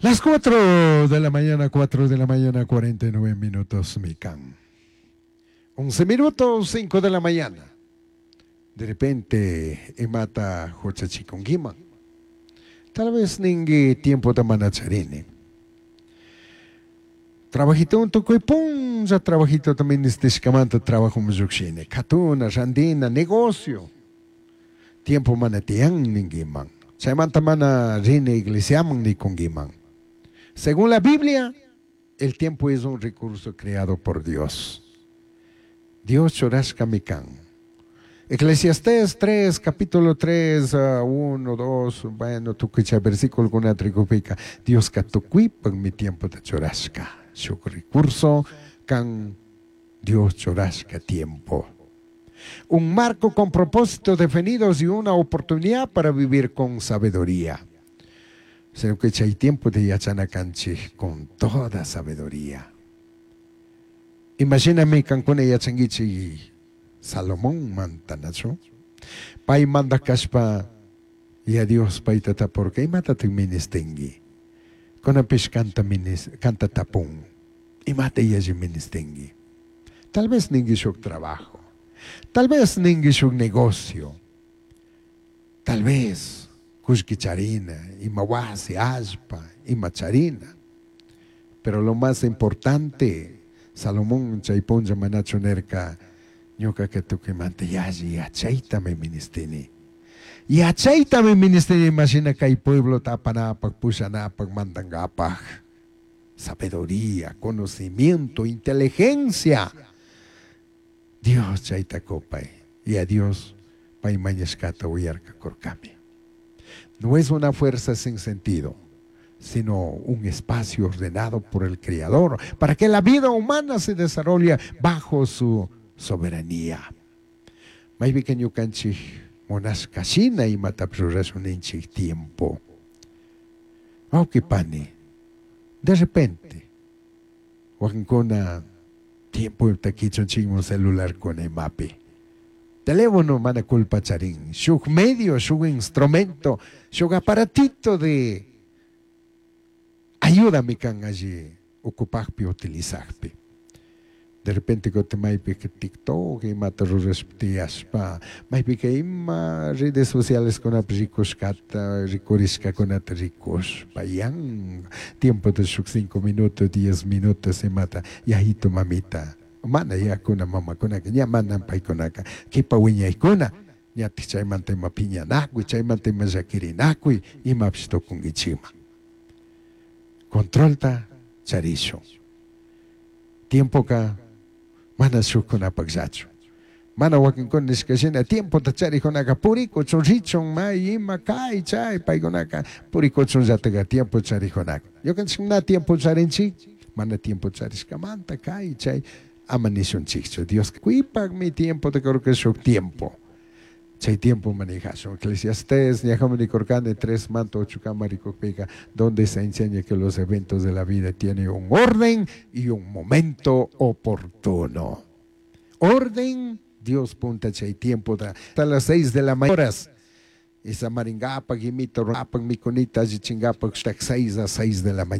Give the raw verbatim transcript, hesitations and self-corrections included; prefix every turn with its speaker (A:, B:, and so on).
A: Las cuatro de la mañana, cuatro de la mañana, cuarenta y nueve minutos, mikan. once minutos, cinco de la mañana. De repente, imata huchachikunkiman. Tal vez ningui tiempo mana charini. Trabajito tukuy punlla trabajito también nistishkamanta trabajo llukshini. Katuna, randina, negocio. Tiempo mana tiyan ninguiman. Chaymanta mana rini iglesiaman nikunguiman. Según la Biblia, el tiempo es un recurso creado por Dios. Dios churashkami kan. Eclesiastés tres, capítulo tres, uno, dos, bueno, tukuy versículo rikupika. Diosca tukuypakmi tiempota churashka. Shuk recurso kan Dios churashka tiempo. Un marco con propósitos definidos y una oportunidad para vivir con sabiduría. Sino que hay tiempo de yachana kanchik con toda sabiduría. Imagíname kankuna yachanguichi Salomón mantanachu. Pay manda kashpa y a Dios payta tapurka imatatak ministingui. Kunapish kanta minis, kanta tapun. Imata yalli ministingui. Tal vez ningui shuk trabajo. Tal vez ningui shuk negocio. Tal vez kullki charina, ima wasi, allpa, ima charina. Pero lo más importante, Salomón chay punlla manachu nirka, ñuka tukuymanta yalli yachaytami ministini. Yachaytami ministini imashina kay pueblo apanapak, pushanapak, mandangapak. Sabiduría, conocimiento, inteligencia. Dios chayta kupay. Y a Dios pay mañashkata uyarka kurkami. No es una fuerza sin sentido, sino un espacio ordenado por el Creador para que la vida humana se desarrolle bajo su soberanía. Maypika ñukanchik munashka shina imatapish rurashun ninchik tiempo. Wawqi pani, de repente, wakinkuna tiempo kichunchikmun celularkuna imapi. Teléfono mana culpa charin, shuk medio, shuk instrumento, shuk aparatito de ayúdame kan alli ocupakpi, utilizakpi. De repente kutin maypika TikTok imata rurashpa tiyashpa, maypika ima redes sociales kunapi rikushkata, rikurishkakunata rikushpa, yan tiempo de shuk cinco minutos, diez minutos imata, yayito mamita, mana yakuna mamakunaka, ña mana paykunaka, kipa wiñaykuna, ñatik chaymanta ima piñanakuy, chaymanta ima llakirinakuy, imapish tukunkichikman. Controlta charishun. Tiempoka mana shukkunapakllachu. Mana wakinkuna nishka shina tiempota charikkunaka purikuchun richun may ima kay chay paykunaka purikuchunllataka tiempo charikkunaka. Ñukanchik na tiempo charinchik, mana tiempo charishkamanta kay chay ama nishunchikchu. Dios kuypakmi tiempota kurka shuk tiempo. Chay tiempo manejashun. Eclesiastés, ñajaman rikurkani tres manta ocho kama rikukpika, donde se enseña que los eventos de la vida tienen un orden y un momento oportuno. Orden, Dios punta chay tiempo da hasta las seis de la mañana. Y samaringapak, imito, rapak, mikunita, allichingapak, seis a seis de la mañana.